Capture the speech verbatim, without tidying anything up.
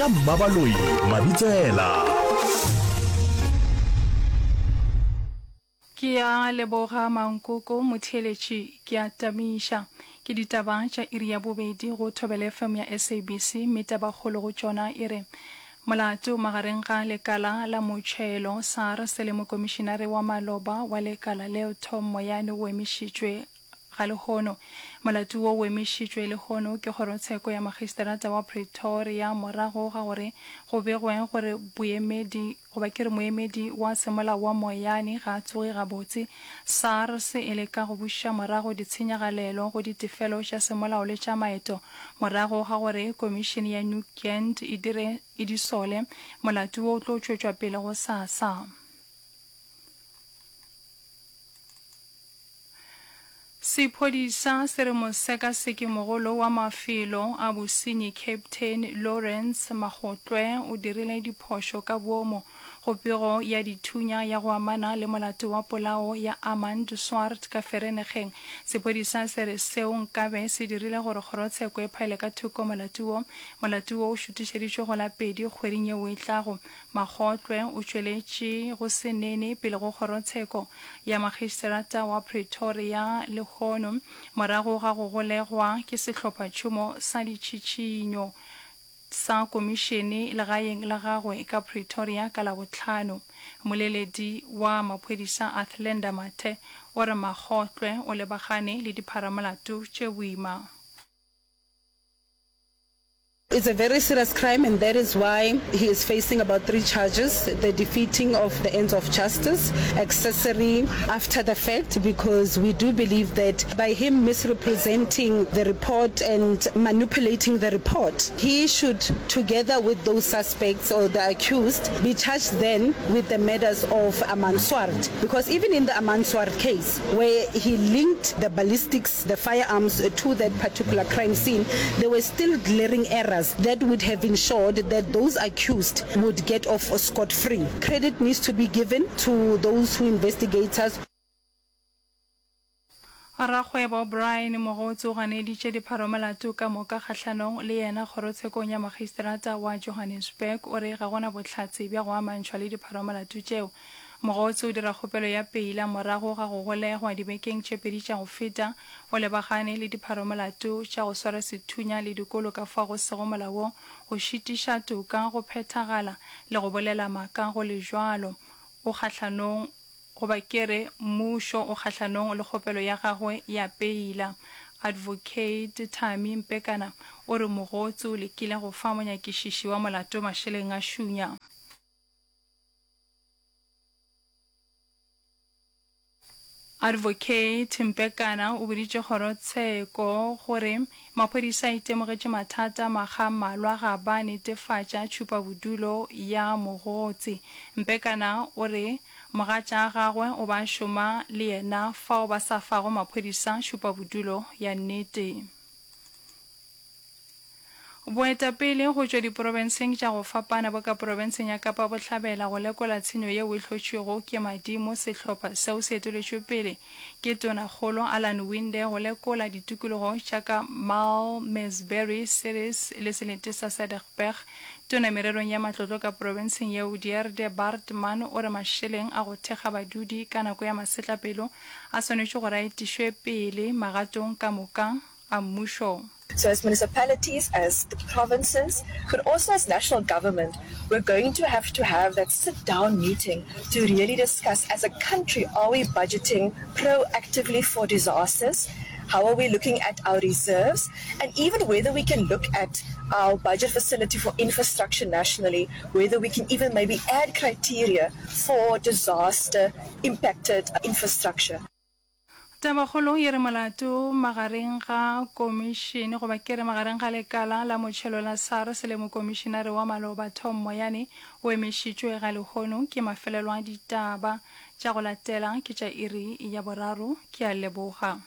Ka Mmabaloi Mabitsela. Ke a leboga Mankoko motheeletši, ke a tamiša. Ke ditaba tša iri ya bobedi go Thobela F M ya S A B C mme tabakgolo go tšona e re molato magareng ga lekala la motšhelo SARS le mokomišinare wa maloba wa lekala leo Tom Moyane o emišitšwe ga lehono. Molato wo o emišitšwe lehono ke kgorotsheko ya magistrata wa Pretoria morago ga gore go begwe gore boemedi goba ke re moemedi wa semolao wa Moyane ga a tsoge gabotse. SARS e leka go buša morago ditshenyagalelo go ditefelo tša semolao le tša maeto morago ga gore komišene ya Nugent e dire e di sole. Molato wo o tlo tšwetšwa pele gosasa. Sephodisa se re mosekaseki-mogolo wa mafelo a bosenyi Captain Lawrence Makgotlwe o dirile diphošo ka boomo go pego ya dithunya ya go amana le molato wa polao ya Armand Swart ka Vereeniging. Sephodisa se re seo nkabe se dirile gore kgorotsheko e phaele ka thoko molato wo. Molato wo o šutišeditšwe go la pedi kgweding yeo e tlago. Makgotlwe o tšweletše go se nene pele go kgorotsheko ya magistrata wa Pretoria lehono morago ga go golegwa ke sehlophatšhomo sa ditšhišinyo sa komišene legaeng la gagwe ka Pretoria ka Labohlano. Mmoleledi wa maphodisa Athlenda Mathe o re Makgotlwe o lebagane le dipharamolato tše boima. It's a very serious crime and that is why he is facing about three charges, the defeating of the ends of justice, accessory after the fact, because we do believe that by him misrepresenting the report and manipulating the report, he should, together with those suspects or the accused, be charged then with the murders of Armand Swart. Because even in the Armand Swart case, where he linked the ballistics, the firearms to that particular crime scene, there were still glaring errors that would have ensured that those accused would get off scot-free. Credit needs to be given to those who investigate us. Rakgwebo Brian Mogotsi o ganeditše dipharomolato ka moka kgahlanong le yena kgorotshekong ya magistrata wa Johannesburg. O re ga gona bohlatse bja go amantšhwa le dipharomolato tšeo. Mogotsi o dira kgopelo ya peila morago ga go golegwa dibekeng tše pedi tša go feta. O lebagane le dipharomolato tša go swara sethunya le dikolo ka fao go sego molaong, go šitiša toka go phethagala le go bolela maaka go le bjalo. O kgahlanong goba ke re mmušo o kgahlanong le kgopelo ya gagwe ya peila. Advocate Thami Mpekana o re Mogotsi o lekile go fa monyakišiši wa molato mašeleng a šunya. Advocate Mpekana o boditše kgorotsheko gore maphodisa a itemogetše mathata makga a mmalwa ga ba netefatša tšhupabodulo ya Mogotsi. Mpekana o re mogatša gagwe o ba šoma le yena fao ba sa fago maphodisa tšhupabodulo ya nnete. Boetapele go tšwa diprofenseng tša go fapana bo ka profenseng ya Kapa Bohlabela go lekola tshenyo yeo e hlotšwego ke madimo. Sehlopha seo se eteletšwe pele ke Tonakgolo Alan Winde go lekola ditikologo tša ka Malmesbury, Ceres le selete sa Cederberg. Tona mererong ya matlotlo ka profenseng yeo Dierda Baartman o re mašeleng a go thekga badudi ka nako ya masetlapelo a swanetše gore a etišwe pele magatong ka moka a mmušo. So as municipalities, as the provinces, but also as national government, we're going to have to have that sit-down meeting to really discuss as a country, are we budgeting proactively for disasters? How are we looking at our reserves? And even whether we can look at our budget facility for infrastructure nationally, whether we can even maybe add criteria for disaster impacted infrastructure. Tabakgolo e re molato magareng ga komišene goba ke re magareng ga lekala la motšhelo la SARS le mokomišenare wa maloba Tom Moyane o emišitšwe ga lehono. Ke mafelelo a ditaba tša go latela ke tša iri ya boraro. Ke a leboga.